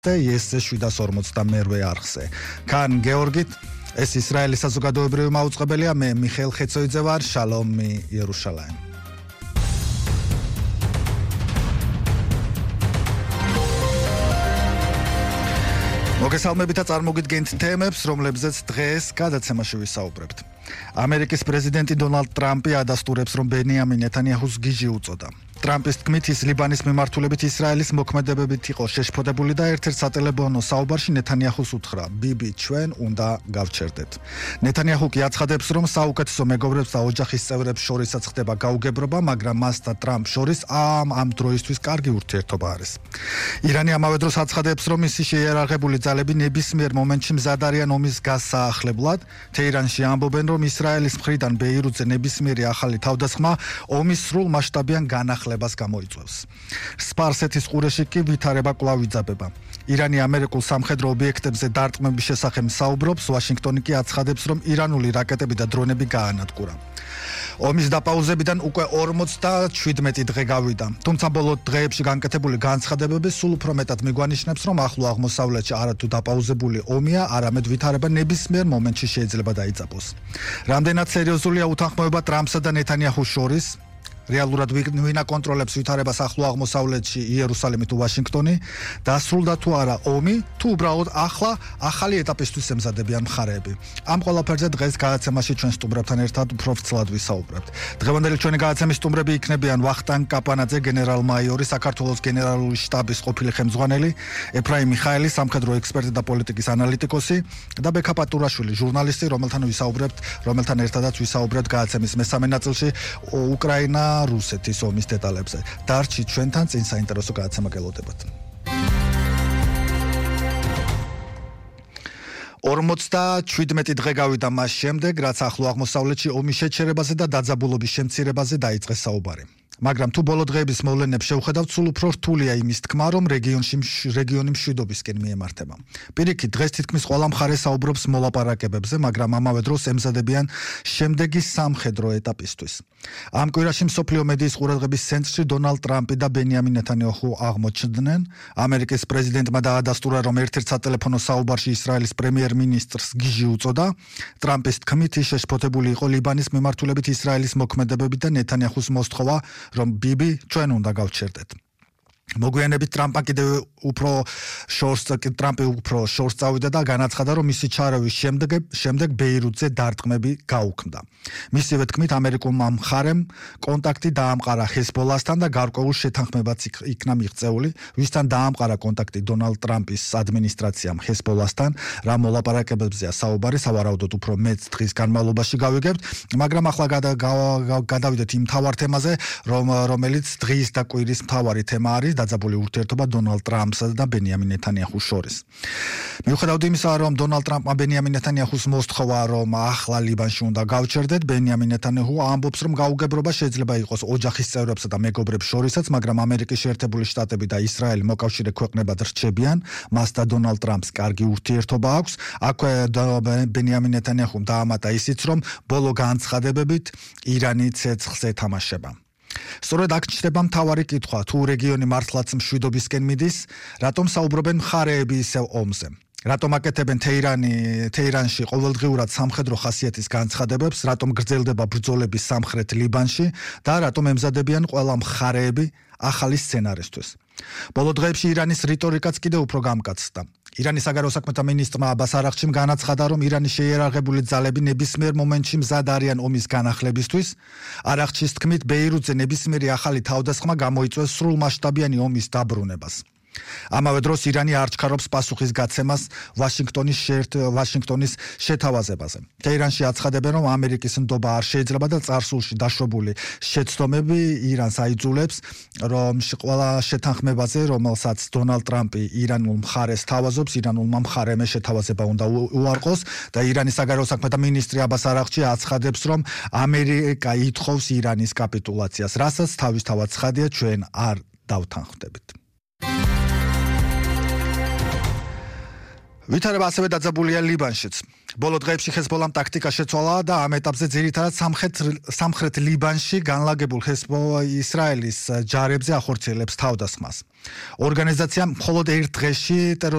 და ეს 758 არხზე. კან გეორგით ეს ისრაელის საზოგადოებრივი მაუწყებელია, მე მიხეილ ხეცოიძე ვარ, შალომი იერუშალაიმ. მოგესალმებით და წარმოგიდგენთ თემებს, რომლებზეც დღეს გადაცემაში ვისაუბრებთ. ამერიკის პრეზიდენტი დონალდ ტრამპი ადასტურებს, რომ ბენიამინ ნეთანიაჰუს გიჟი უწოდა. ტრამპის თქმით, ის ლიბანის მიმართულებით ისრაელის მოქმედებებით იყო შეშფოთებული და ერთ-ერთ სატელეფონო საუბარში ნეთანიაჰუს უთხრა: ბიბი, ჩვენ უნდა გავჩერდეთ. ნეთანიაჰუ კი აცხადებს, რომ საუკეთესო მეგობრებს და ოჯახის წევრებს შორისაც ხდება გაუგებრობა, მაგრამ მას და ტრამპ შორის ამ დროისთვის კარგი ურთიერთობა არის. ირანი ამავე დროს აცხადებს, რომ მისი შეიარაღებული ძალები ნებისმიერ მომენტში მზად არიან ომის გასაახლებლად. თეირანში ამბობენ, რომ ისრაელის მხრიდან ბეირუთზე ნებისმიერი ახალი თავდასხმა ომის სრულ მასშტაბიან განახლებას გამოიწვევს. სპარსეთის ყურეში კი ვითარება კვლავ იძაბება. ირანი ამერიკულ სამხედრო ობიექტებზე დარტყმების შესახებ საუბრობს, ვაშინგტონი კი აცხადებს, რომ ირანული რაკეტები და დრონები გაანადგურა. ომის დაპაუზებიდან უკვე 47 დღე გავიდა. თუმცა ბოლო დღეებში განკეთებული განცხადებები სულ უფრო მეტად მიგვანიშნებს, რომ ახლო აღმოსავლეთში არათუ დაპაუზებული ომია, არამედ ვითარება ნებისმიერ მომენტში შეიძლება დაიწყოს. რამდენად სერიოზულია უთანხმოება ტრამპსა და ნეთანიაჰუს შორის? რეალურად ვინ აკონტროლებს ვითარებას ახლო აღმოსავლეთში, იერუსალიმი თუ ვაშინგტონი? დასრულდა თუ არა ომი, თუ უბრალოდ ახალი ეტაპისთვის ემზადებიან მხარეები? ამ ყველაფერზე დღეს გადაცემაში ჩვენ სტუმრებთან ერთად უფრო ვრცლად ვისაუბრებთ. დღევანდელი ჩვენი გადაცემის სტუმრები იქნებიან ვახტანგ კაპანაძე, გენერალ-მაიორი, საქართველოს გენერალური შტაბის ყოფილი ხელმძღვანელი, ეფრაიმ მიხაელი, სამხედრო ექსპერტი და პოლიტიკის ანალიტიკოსი და ბექა პატურაშვილი, ჟურნალისტი, რომელთან ერთადაც ვისაუბრებთ გადაცემის მესამე ნაწილში უკრაინა რუსეთის ომის დეტალებზე. დარჩით ჩვენთან, წინ საინტერესო გადაცემა გელოდებათ. 47 დღე გავიდა მას შემდეგ, რაც ახლო აღმოსავლეთში ომის შეჩერებაზე და დაძაბულობის შემცირებაზე დაიწყეს საუბარი. მაგრამ თუ ბოლო დღეების მოვლენებს შევხედავთ, სულ უფრო რთულია იმის თქმა, რომ რეგიონი მშვიდობისკენ მიემართება. პირიქით, დღეს თითქმის ყველა მხარე საუბრობს მოლაპარაკებებზე, მაგრამ ამავე დროს ემზადებიან შემდეგი სამხედრო ეტაპისთვის. ამ კვირაში მსოფლიო მედიის ყურადღების ცენტრში დონალდ ტრამპი და ბენიამინ ნეთანიაჰუ აღმოჩნდნენ. ამერიკის პრეზიდენტმა დაადასტურა, რომ ერთ-ერთ სატელეფონო საუბარში ისრაელის პრემიერ-მინისტრს გიჟი უწოდა. ტრამპის თქმით, ის შეშფოთებული იყო ლიბანის მიმართულებით ისრაელის მოქმედებებით და ნეთანიაჰუს მოსთხოვა, რომ ბიბი, ჩვენ უნდა გავჩერდეთ. მოგვიანებით ტრამპი უფრო შორს წავიდა და განაცხადა, რომ მისი ჩარევის შემდეგ ბეირუთზე დარტყმები გაუქმდა. მისივე თქმით, ამერიკულმა მხარემ კონტაქტი დაამყარა ჰეზბოლასთან და გარკვეულ შეთანხმებაც იქნა მიღწეული, ვისთან დაამყარა კონტაქტი დონალდ ტრამპის ადმინისტრაციამ ჰეზბოლასთან, რა მოლაპარაკებებზეა საუბარი, სავარაუდოდ უფრო მეც დღის განმავლობაში გავიგებთ, მაგრამ ახლა გადავიდეთ იმ მთავარ თემაზე, რომელიც დღის და კვირის მთავარი თემა არის, დაძაბული ურთიერთობა დონალდ ტრამპსა და ბენიამინ ნეთანიაჰუს შორის. მიუხედავად იმისა, რომ დონალდ ტრამპმა ბენიამინ ნეთანიაჰუს მოსთხოვა, რომ ახლა ლიბანში უნდა გავჩერდეთ, ბენიამინ ნეთანიაჰუ ამბობს, რომ გაუგებრობა შეიძლება იყოს ოჯახის წევრებსა და მეგობრებს შორისაც, მაგრამ ამერიკის შეერთებული შტატები და ისრაელი მოკავშირე ქვეყნებად რჩებიან, მას და დონალდ ტრამპს კარგი ურთიერთობა აქვს. აქვე ბენიამინ ნეთანიაჰუმ დაამატა ისიც, რომ ბოლო განცხადებებით ირანი ცეცხლს ეთამაშება. სწორედ აქ ჩნდება მთავარი კითხვა, თუ რეგიონი მართლაც მშვიდობისკენ მიდის, რატომ საუბრობენ მხარეები ისევ ომზე? რატომ აკეთებენ თეირანში ყოველდღიურად სამხედრო ხასიათის განცხადებებს, რატომ გრძელდება ბრძოლები სამხრეთ ლიბანში და რატომ ემზადებიან ყველა მხარეები ახალი სცენარისთვის? ბოლო დღეებში ირანის რიტორიკაც კიდევ უფრო გამკაცდა. ირანის საგარეო საქმეთა მინისტრმა აბას არაღჩიმ განაცხადა, რომ ირანის შეიარაღებული ძალები ნებისმიერ მომენტში მზად არიან ომის განახლებისთვის. არაღჩის თქმით, ბეირუთზე ნებისმიერი ახალი თავდასხმა გამოიწვევს სრულმასშტაბიანი ომის დაბრუნებას. ამავე დროს ირანი არ ჩქარობს პასუხის გაცემას ვაშინგტონის შეთავაზებაზე. თეირანში აცხადებენ, რომ ამერიკის ნდობა არ შეიძლება და წარსულში დაშვებული შეცდომები ირანს აიძულებს, რომ ყველა შეთანხმებაზე, რომელსაც დონალდ ტრამპი ირანულ მხარეს თავაზობს, ირანულმა მხარემ შეთავაზება უნდა უარყოს და ირანის საგარეო საქმეთა მინისტრი აბას არაღჩი აცხადებს, რომ ამერიკა ითხოვს ირანის კაპიტულაციას, რასაც თავისთავად ცხადია, ჩვენ არ დავთანხმდებით. ვითარება ასევე დაძაბულია ლიბანშიც. ბოლო დღეებში ჰეზბოლამ ტაქტიკა შეცვალა და ამ ეტაპზე ძირითადად სამხრეთ ლიბანში განლაგებულ ისრაელის ჯარებზე ახორციელებს თავდასხმას. ორგანიზაციამ მხოლოდ ერთ დღეში